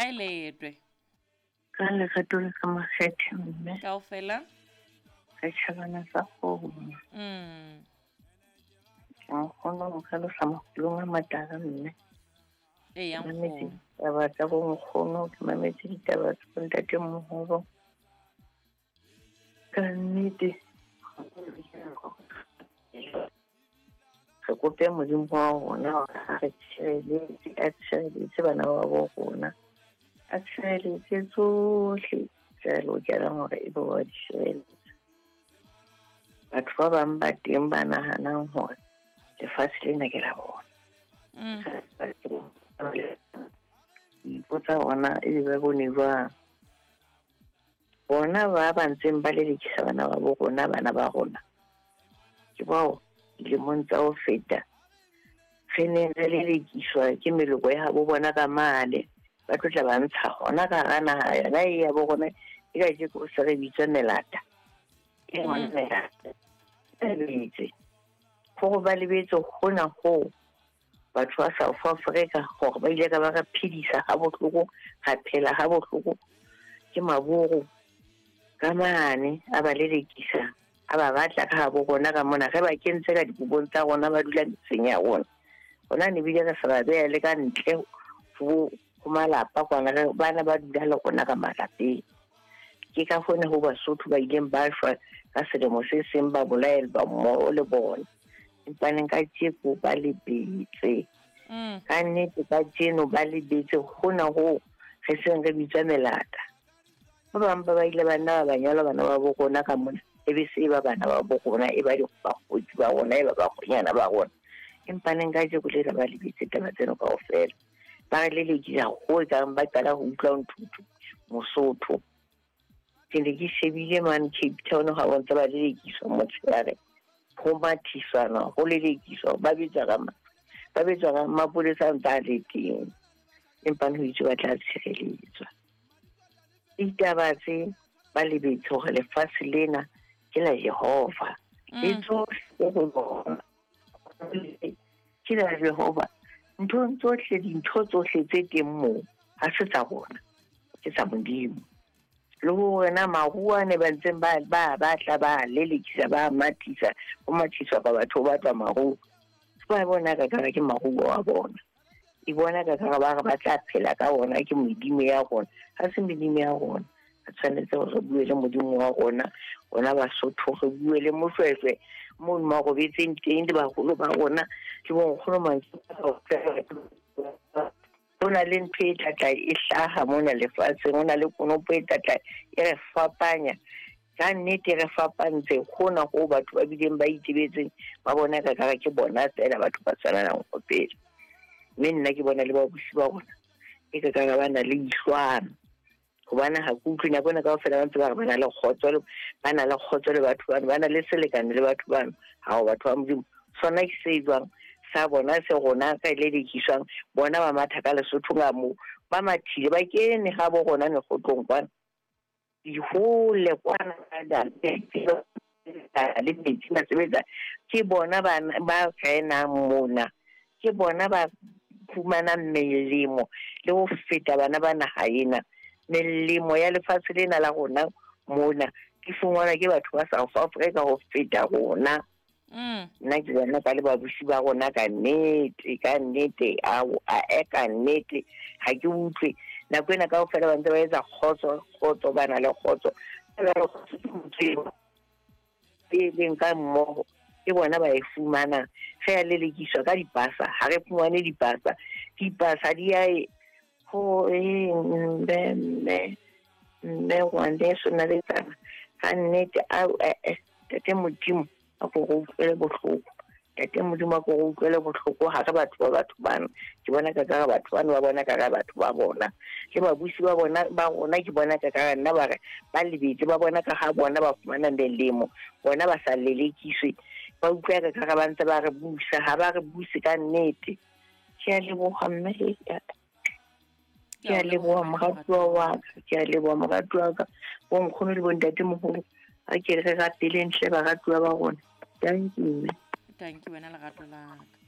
Kae letwe? Ka lerato le ka makgethe mme. Kaofela? Re tjhabana sa kgomo. Nkgono o hlalosa makulong a matala mme. Eya Ke mametse nkgono. ditaba tsa bonkgono, ke mametse ditaba tsa bontatemoholo. Ka nnete re kope Modimo wa rona hore a re tshireletse, a tshireletse bana ba bo rona, a tshireletse tsohle tse re lokelang hore ebe wa di sireletsa. Batho ba bang ba teng ba nahanang hore lefatshe lena ke la bona. Ipotsa hona ebe ba bone jwang. Bona ba ba ntseng ba lelekisa bana ba bo rona, bana ba rona. Ke bao dilemong tsa ho feta re neng re lelekiswa ke meloko ya habo bona ka mane. Ba tlo tla ba ntsha hona ka hara naha yona e ya bo rona e kajeko se re bitswa melata. Ke yona melata. Ba lebetse. Hore ba lebetse hona hoo batho ba South Africa hore ba ile ka ba re phedisa ha bohloko, ra phela ha bohloko ke maburu ka mane a ba lelekisa, a ba batla ka habo rona ka mona, re ba kentse ka dikobong tsa rona, ba dula metseng ya rona. Rona ne bile re sa ba beha le ka ntle ho malapa kwana, re bana ba dula le rona ka malapeng. Ke ka hona ho Basotho ba ileng ba shwa ka selemo se seng ba bolaelwa mmoho le bona. Empa neng ka tjeko ba lebetse. Ka nnete ka tjeno ba lebetse hona hoo re seng re bitswa melata. Ba bang ba ba ile ba nna ba banyalwa bana ba bo rona ka mona, e be se ba bana ba bo rona, e ba bakgotsi ba rona, e ba bakgonyana ba rona. Empa neng ka tjeko lena ba lebetse taba tseno kaofela. Ba re lelekisa ho e kang ba qala ho utlwa nthuthu Mosotho. Ke ne ke shebile mane Cape Town ha ba ntse ba lelekiswa motshehare, ho mathisana, ho lelekiswa, ba betswa ka ba betswa ka mapolesa a ntse a le teng. Empa ho itse ba tla tshireletswa. Ditaba tse ba lebetse hore lefatshe lena ke la Jehova. Le tsohle tse ho lona ke la Jehova. Nthong tsohle, dintho tsohle tse teng moo ha se tsa rona, ke tsa Modimo. Le hore na maruo a ne ba ntseng ba ba batla ba lelekisa, ba mathisa, ho mathiswa ka batho ba batlwa maruo. Ba bona ka kare ke maruo a bona. E bona ka kare ba re ba tla phela ka ona, ke medimo ya rona. Ha se medimo ya rona. Re tshwanetse hore re bue le Modimo wa rona, rona Basotho, re bue le Moshweshwe moo mo robetseng teng le baholo ba rona, le bonkgono mantswe. Ho na le ntho e tlatla e hlaha mona lefatsheng, ho na le konopo e tlatla e re fapanya. Ka nnete re fapantse hona ho batho ba bileng ba itebetseng, ba bona ka kare ke bona feela batho ba tshwanang ho pele. Mme nna ke bona le babusi ba rona e ka kare ba na le ihlwana. Hobane ha ke utlwe nako ena kaofela ba ntse ba re ba na le kgotso le, ba na le kgotso le batho bano, ba na le selekane le batho bano. Ha ho batho ba Modimo. Sona ke se jwang sa bona se rona ka le lekiswang, bona ba matha ka Lesotho ka moo, ba mathile ba kene ha bo rona mekgotlong kwana. Dihole kwana le metsi ba sebetsa, ke bona ba renang mona, ke bona ba fumanang melemo le ho feta bana ba naha ena. Melemo ya lefatshe lena la rona mona ke fumanwa ke batho ba South Africa ho feta rona. Nna ke bona ka le babusi ba rona ka nnete, ka nnete, ao, a e ka nnete, ha ke utlwe. Nako ena kaofela ba ntse ba etsa kgotso, kgotso, ba na le kgotso. E leng ka mmoho, ke bona ba e fumanang. Re a lelekiswa ka dipasa, ha re fumane dipasa. Dipasa di a e ho e mme, mme, mme ngwaneso na le tsana. Ka nnete, au, Ntate Modimo a ko re utlwele bohloko. Ntate Modimo a ko re utlwele bohloko. Ha re batho ba batho bano. Ke bona ka kare batho bano ba bona ka kare batho ba bona. Le babusi ba bona, ba rona ke bona ka kare nna ba re ba lebetse, ba bona ka ha bona ba fumana melemo, bona ba sa lelekiswe. Ba utlwa ka kare ba ntse ba re busa, ha ba re buse ka nnete. Ke a leboha mme, ke a leboha moratuwa wa ka, ke a leboha moratuwa wa ka. Bonkgono le bontatemoholo, a ke re rapeleng hle baratuwa ba rona. Thank you, mme. Thank you wena lerato la ka.